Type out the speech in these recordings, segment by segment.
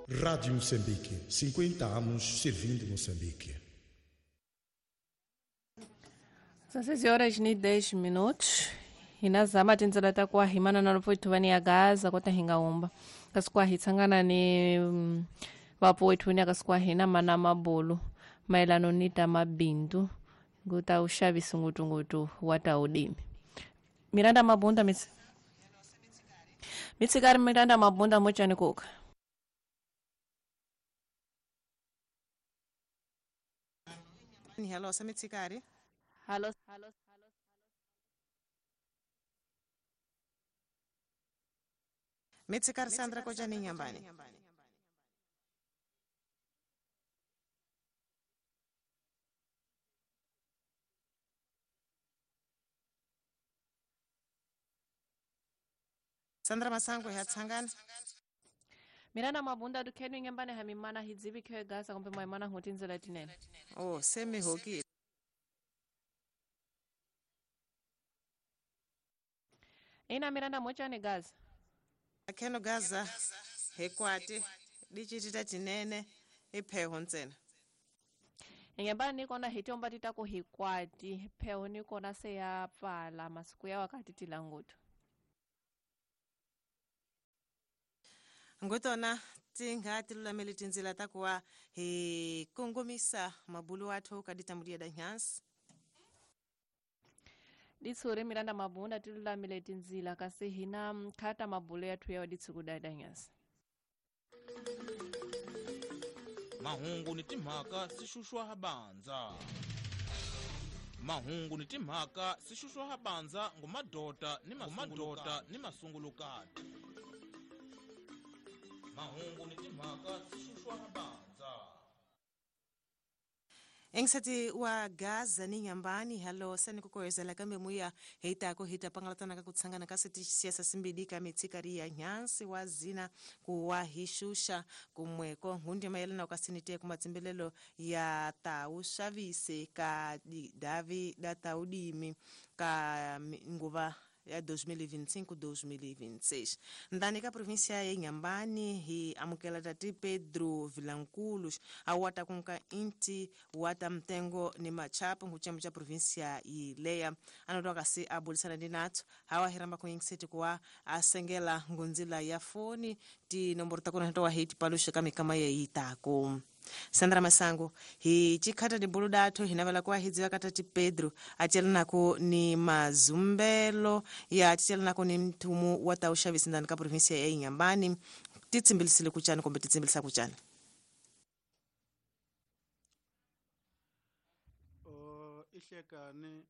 Rádio Moçambique, 50 anos servindo Moçambique. São 6 horas e 10 minutos. Hinazama tindzela ta ku himana na lopho ya Gaza kota hinga umba kasi kwa hitsangana ni vapo ni kasi kwa hina mana mabulu maelano ni ta mabindu nguta uxavisi ngutungutu wa ta udimi Miranda Mabunda mitsi mitsikari Miranda Mabunda mochani kuka. Hello, Samitsikari. Halo, halo. Mitsikari Sandra Kojani Nyambani. Sandra Masango hatsangana. Miranda Mabunda dukhenu nyambani hamimana hidzivi khe Gaza kumbe maimana hutinzela tinene. Oh, semi hoki. Ina Miranda mochani Gaza. Akheno Gaza hekwati dichitita tinene ipheho ntsena. Nyambani nikona hitomba titako hikwati pheho nikona seya pfala masiku ya wakati tilangutu. Ngotona tinga tilulamele tindzila ta kuwa hi kongomisa mabulu athu ka ditambudia da nyansi. Ditsuri Miranda Mabunda tilulamile tindzila kasi hina mkhata mabulu yathu ya ditsuku da nyansi. Mahungu ni timhaka sixuxwa habanza. Mahungu ni timhaka sixuxwa habanza ngumadota ni mamadota ni masungulukati. Mahungu ni timhaka sixuxwa habanza. Engisati wa Gaza ni Nyambani halo sani kukoyezela kambe muya heitako hita pangalatana ka kutsangana ka siti siasa simbidi ka mitsikari ya nyansi wa zina kuwahishusha kumweko ngundi mayelana kasinite kumatsimbelelo ya tau xavise ka davi da taudimi ka nguva ya 2025-2026. Ndani ka província ya Inhambane hi amukela tati Pedro Vilanculos awata kunka inti wata mtengo ni machapo nguchembo cha província ileya anotoka kasi abulisana ndi nathu hawa hiramba kuyingiseti kuwa asengela ngunzila ya foni ti nomboro takona towa hiti palusha kamikama ya itako. Sandra Masango hi chikhata ni bulu dathu hinavala kwa hidziwa katati Pedro achelanako ni mazumbelo ya achelanako ni mthumu wa tauxavisi ndani ka província ya Inhambane titsimbilisile kuchani kumbe titsimbilisa kuchani. Ihlekani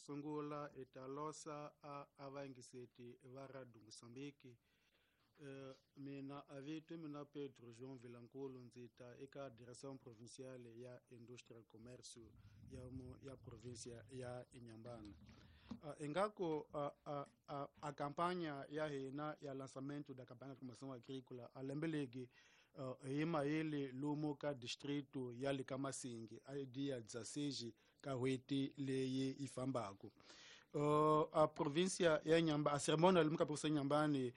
sungula italosa a avangiseti va Radio Moçambique. Mina avito mina Pedro João Vilanculo ndzita eka Direção Provincial ya Indústria e Comércio ya província ya Inhambane. Engako a campanha ya hina ya lançamento da campanha de promoção agrícola a lembelegi hima ele lumo ka distrito ya Likamasingi a dia 16 ka hweti leyi ifambako. A província ya Inhambane, a cerimônia lumo ka província ya Inhambane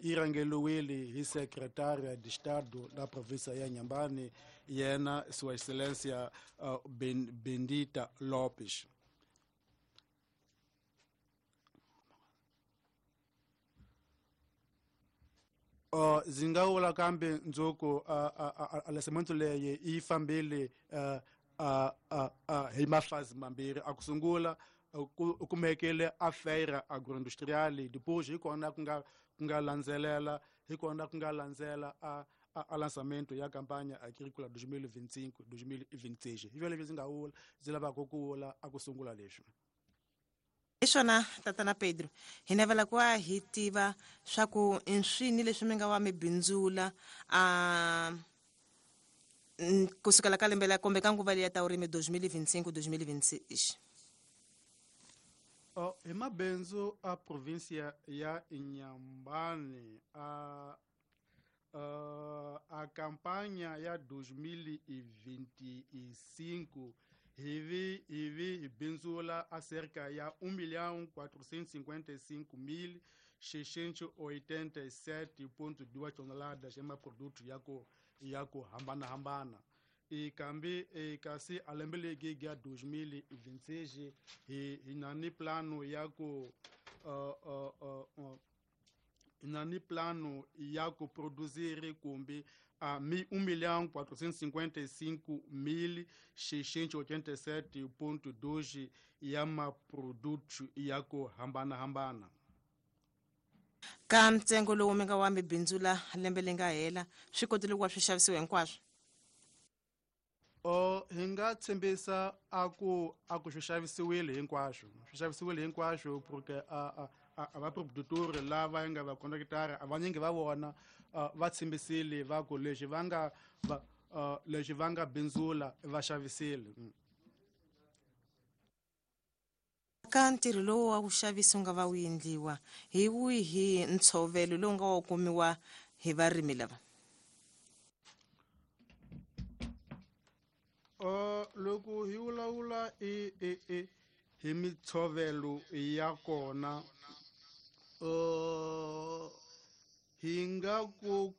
irangeluwili hi secretária de Estado da província ya Inhambane, yena Sua Excelência Bendita Lopes. Zingaula kambe ndzoko a lançamento leye yi fambile hi mafazi mambirhi a kusungula kumekele a feira agroindustrial depois hi kona ku nga landzelela hi kona ku nga landzela a lançamento ya campanha agrícola 2025-2026 hi leswi ndzi nga wula ndzi lavaka ku wula a ku sungula leswi. Hi swona tatana Pedro hi navela ku va hi tiva swa ku i swini leswi mi nga wa mi bindzula a kusukela ka lembe la kumbe ka nguva leyi ya ta vurimi 2025-2026. Hi mabindzu a província ya Inhambane a campanha ya 2025 hivi hi bindzula a cerca ya 1 455 687,2 toneladas ya maproduto ya ku hambanahambana. E kambi e kasi a lembe legi ya 2026 hi na ni plano ya ku na ni plano ya ku produzir kumbe a 1.455.687,2 ya maproduto ya ku hambanahambana. Ka ntsengo lowu mi nga wa mi bindzula lembe leri nga hela swi kotile ku va swi xavisiwa hinkwaswo? Hi nga tshembisa a ku swi xavisiwile hinkwaswo, swi xavisiwile hinkwaswo porque a vaproductori lava nga va kondakitara a vanyingi va vona va tshembisile va ku lexi va nga lexi va nga bindzula va xavisile. Ka ntirho lowu wa ku xavisa wu nga va wu endliwa hi wihi ntshovelo lowu nga wa kumiwa hi varimi lava? Loko hi vulavula hi mitshovelo ya kona, hi nga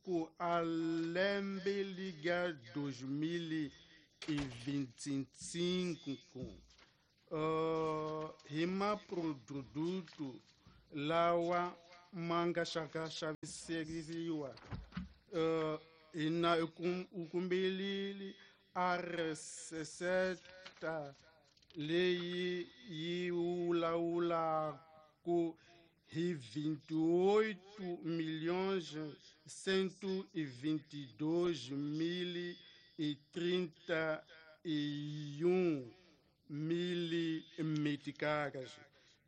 ku a lembe liga 2025 hi maproduto lawa ma nga xavisiwa hi na ukumbeleli a reseta leyi yi vulavulaku hi 28.122.031 mil meticais.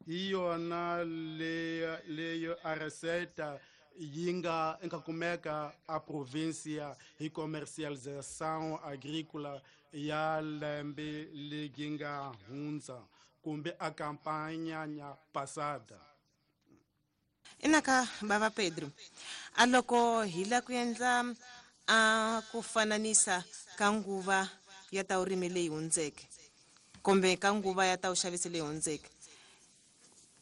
Hi yona leyo a receita yi nga kumeka a província hi comercialização agrícola ya lembe leri nga hundza kumbe a campanha passada. Inaka bava Pedro, a loko hi la ku endla a ku fananisa ka nguva ya ta vurimi leyi hundzeke kumbe ka nguva ya ta vuxavisi leyi hundzeke,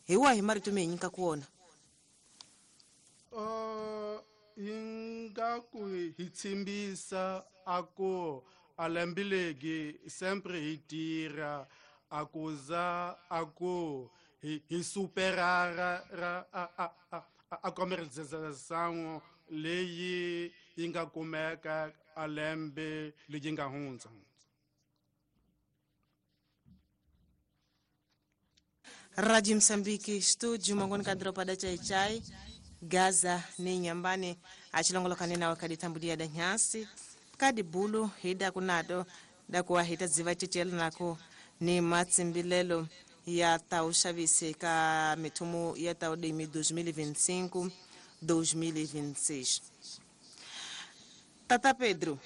hi wahi marito mi hi nyikaka wona? Hi nga ku hi tshembisa a ku a lembe legi sempre hi tirha a ku za a ku hi superar a comercialização leyi yi nga kumeka a lembe leyi nga hundza. Radio Mozambique, studio mangoni ka dropa da chai chai Gaza ni Nyambani achilongolokane nawe kaditambulia da nyasi kadi bulu hida kunado da kuwa hita ziva chichela nako ni matsimbilelo ya tauxavisi ka mitumu ya tau de 2025 2026. Tata Pedro,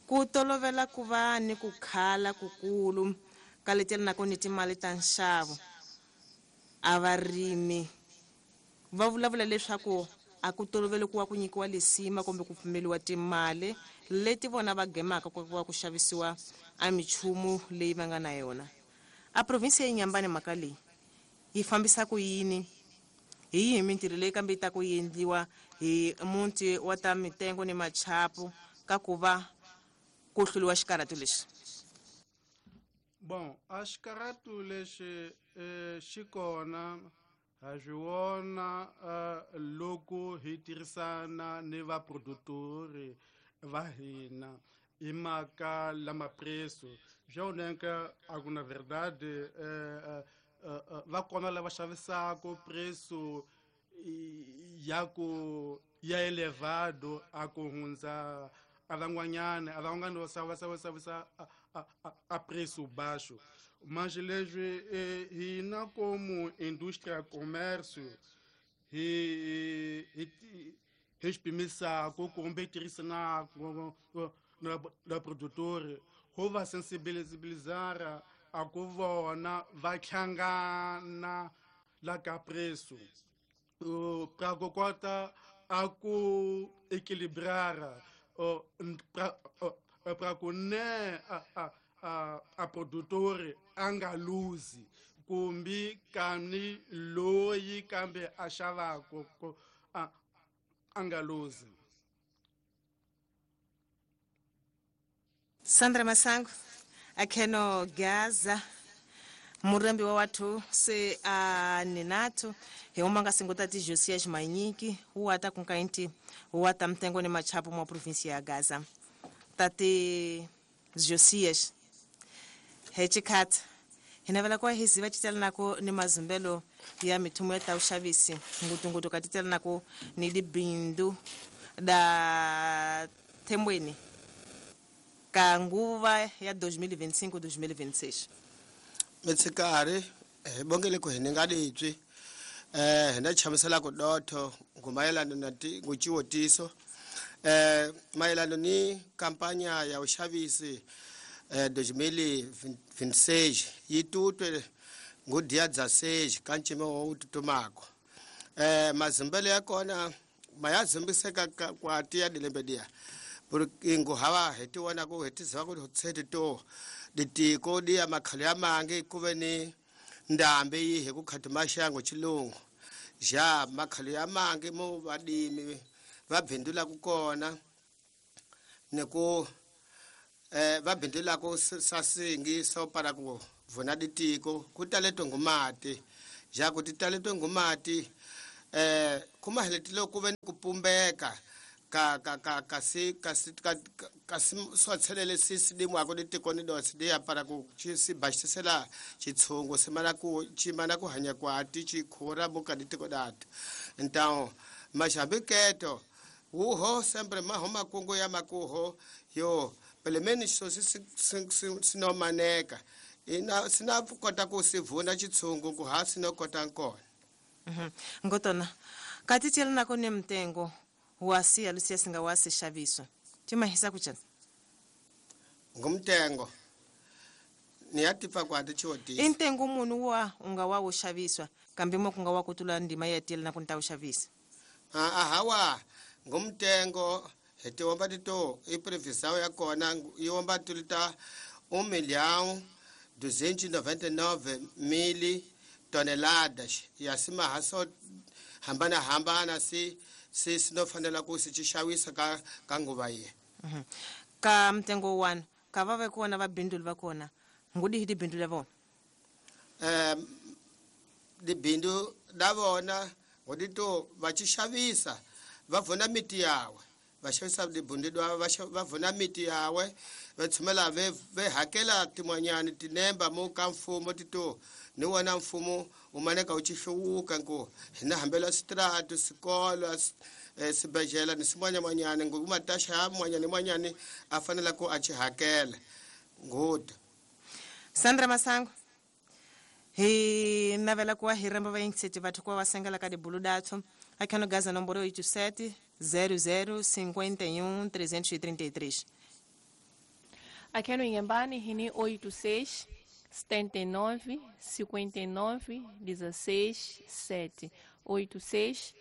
ku tolovela ku va ni ku khala kukulu ka letela nako ni timali ta nxavo, a varimi va vulavula leswaku a ku toloveli ku wa ku nyikiwa lisima kumbe ku pfumeliwa timali leti vona va gemaka ku va ku xavisiwa a michumu leyi va nga na yona. A provinsi ya Inhambane mhaka leyi yi fambisa ku yini? Hi yihi mintirho leyi kambe yi ta ku endliwa hi muti wa ta mitengo ni machapu ka ku va ku hluriwa xikarhato lexi? Bom, a xikarhato lexi xi kona ha swi vona loko hi tirhisana ni vaproductori va hina hi mhaka lama preço. Swa vonaka a ku na verdade va kona lava xavisaka preço ya ku ya elevado a ku hundza a van'wanyana a van'wanyana va xavisa a preço baixo. Mas leswi hina como indústria comércio hi hi xipimisaka kumbe tirhisanaka na produtor ho va sensibilizar a ku vona va hlangana la ka preço pra ku kota a ku equilibrar pra ku ne a produtor a nga luzi Kumbi kani loyi kambe a xavako ko a nga luzi. Sandra Masango akheno Gaza murambi wa wathu se a ninathu hi uma nga singo tati Josias Manyiki wa ta kunkainti wa ta mtengo ni machapo mwa provinsia ya Gaza. Tati Josias hechikhat hinavela kwa hizi vachitela nako ni mazumbelo ya mithumo ya tauxavisi ngutungutu katitela nako ni libindu da thembweni ka nguva ya 2025-2026. Mitsikari hi bongele ku hi ni nga ditswi hi na chamisela ku dotho ngumayelano na nguciwotiso mayelano ni kampanya ya uxavisi 2026 yi tutwe ngudiya dza seji ka ncimo wa wu tutumako mazimbelo ya kona ma ya zimbiseka kwati ya dilembe diya ngu hava hi ti vona ku hi ti ziva ku tsheti to ditiko di ya makhalo ya mangi ku ve ni ndhambi yi hi ku khati maxangu xilungu ja makhalo ya mangi mo vadimi va bindulaku kona ni ku va bindulaku sasingi so para ku vuna ditiko ku tale tongumati ja ku ti tale tongumati kuma heletile ku ve ni ku pumbeka ka ka ka kasi kasi ka kasi swa tshelele si sidimwako ditikoni dosi di ya para ku si baxisela xitshungu si mana ku xi mana ku hanya kwati xi khura muka ditiko dato. Então maxambiketo wuho sempre maho makungu ya makuho yo pelo menos so si si no maneka ina sina kota ku si vuna xitshungu ku ha sino kota nkona. Ngotona kati tshela nako ni mtengo wasi alusiya singa wasi xaviswa timahisa kuchana ngumtengo ni ya tipa kwa tichoti intengo munhu wa unga wa xaviswa kambe mo kunga wa kutula ndima ya tiyela na ku nta xavisa ahawa ngumtengo hetiwomba tito i previsão ya kona yi womba tulita 1,299,000 toneladas ya simaha so hambana hambana si si sinofanela ku si xavisa ka ka nguva ye. Ka mtengo wanu ka va ve kona va bindulu va kona ngudi hi tibindu la vona dibindu da vona ngudi to va xi xavisa va vona miti yawe va xavisa dibindu va vona miti yawe va tshumela ve hakela tin'wanyani tinemba mo ka mfumo tito ni wona mfumo u maneka u xihluvuka nku hina hambela switiratu swikolo swibedhlele ni swin'wanyamanyani ngu mataxa ya mwanyani mwanyani a fanela ku a xi hakela nguta. Sandra Masango hi navela ku wa hi ramba vayingiseti vathu ku va sengela ka dibulu datso akhano gaza nomboro 87 00 51 333. Akhano Inhambane hini 86 79 59 16 7 86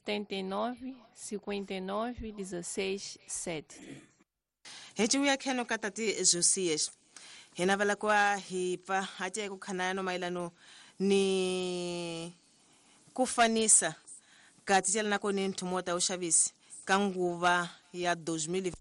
79 59 16 7. Heciuya kheno ka tati Josias hina vala kwa hi pfa hati ku khanano mailano ni kufanisa ka titela nako ni nthumo ta uxavisi ka nguva ya 2000.